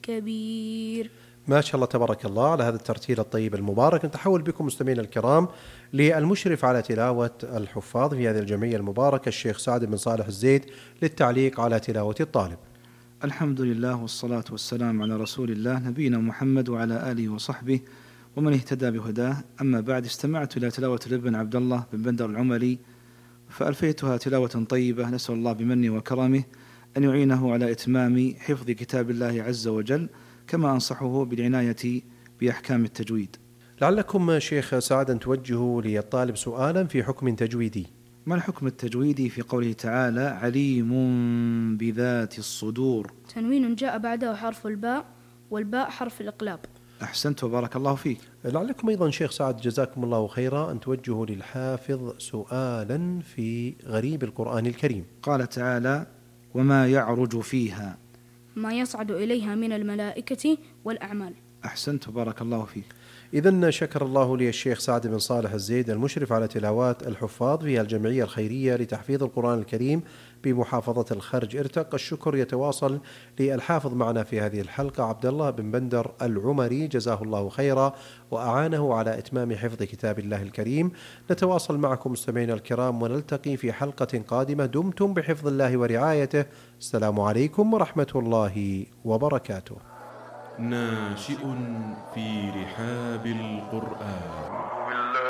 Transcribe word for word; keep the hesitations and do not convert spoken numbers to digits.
كبير. ما شاء الله تبارك الله على هذا الترتيل الطيب المبارك. نتحول بكم مستمعينا الكرام للمشرف على تلاوة الحفاظ في هذه الجمعية المباركة الشيخ سعد بن صالح الزيد للتعليق على تلاوة الطالب. الحمد لله والصلاة والسلام على رسول الله نبينا محمد وعلى آله وصحبه ومن اهتدى بهداه. أما بعد، استمعت إلى تلاوة الابن عبد الله بن بندر العمري فألفيتها تلاوة طيبة، نسأل الله بمنه وكرمه أن يعينه على إتمام حفظ كتاب الله عز وجل، كما أنصحه بالعناية بأحكام التجويد. لعلكم شيخ سعد أن توجهوا للطالب سؤالا في حكم تجويدي. ما الحكم التجويدي في قوله تعالى عليم بذات الصدور؟ تنوين جاء بعده حرف الباء، والباء حرف الإقلاب. أحسنت وبارك الله فيك. لعلكم أيضا شيخ سعد جزاكم الله خيرا أن توجهوا للحافظ سؤالا في غريب القرآن الكريم. قال تعالى وما يعرج فيها، ما يصعد إليها من الملائكة والأعمال. أحسنت وبارك الله فيك. إذن شكر الله لي الشيخ سعد بن صالح الزيد المشرف على تلاوات الحفاظ في الجمعية الخيرية لتحفيظ القرآن الكريم بمحافظة الخرج ارتق. الشكر يتواصل للحافظ معنا في هذه الحلقة عبد الله بن بندر العمري جزاه الله خيرا وأعانه على إتمام حفظ كتاب الله الكريم. نتواصل معكم مستمعينا الكرام ونلتقي في حلقة قادمة. دمتم بحفظ الله ورعايته. السلام عليكم ورحمة الله وبركاته. ناشئ في رحاب القرآن.